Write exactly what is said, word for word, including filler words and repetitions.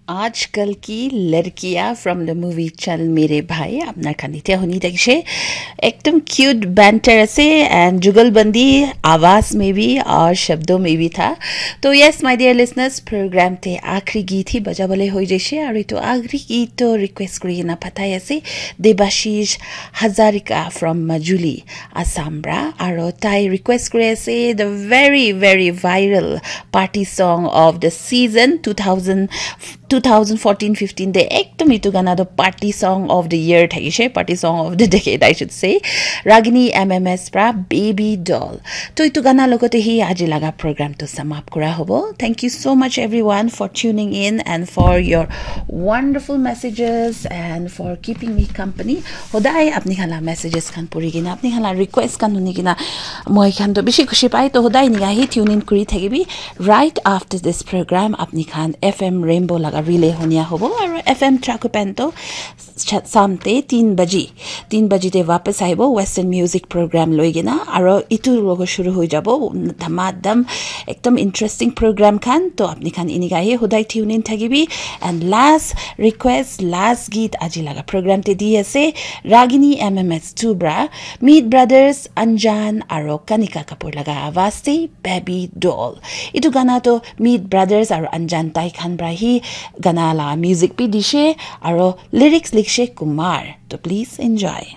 Aaj kal ki ladkiyan from the movie Chal Mere Bhai, apnar khan etia huni thakise. Ekdum cute banter ase and jugalbandi, awaaz mein bhi aur shabdon mein bhi tha. To yes, my dear listeners, program te aakhri geet hi bajabole hoi jaise, aur etu aakhri geet to request kuri kena pathai ase Debashish Hazarika from Majuli, Assam pra, aro tai request kuri ase the very, very viral party song of the season two thousand, two thousand fourteen fifteen te ekdum etu gana to party song of the year thakise, party song of the decade, I should say, Ragini M M S pra Baby Doll. To etu gana logote hi aji laga program to samap kura hobo. Thank you so much everyone for tuning in and for your wonderful messages and for keeping me company. Hodai apni khan la messages khan puri kena, apni khan la request khan huni kena moi khan to bishi khushi pai. To hodai enika hi tune in kuri thakibi. Right after this program, apni khan F M Rainbow laga relay hunia hobo, aru F M Trakupen to cha-, samte tin baji, tin baji te wapas aibo Western music program loi kena, aru itu logo shuru hoi jabo dhamadham, ekdom interesting program khan. To apni khan enika hi hodai tune in thakibi. And last request, last geet aji laga program te di ase Ragini M M S two pra Meet Brothers Anjan aro Kanika Kapoor laga awaaz te Baby Doll. Itu gana to Meet Brothers aro Anjan tai khan pra hi gana la music bi dishe aro lyrics likshe Kumar. To please enjoy.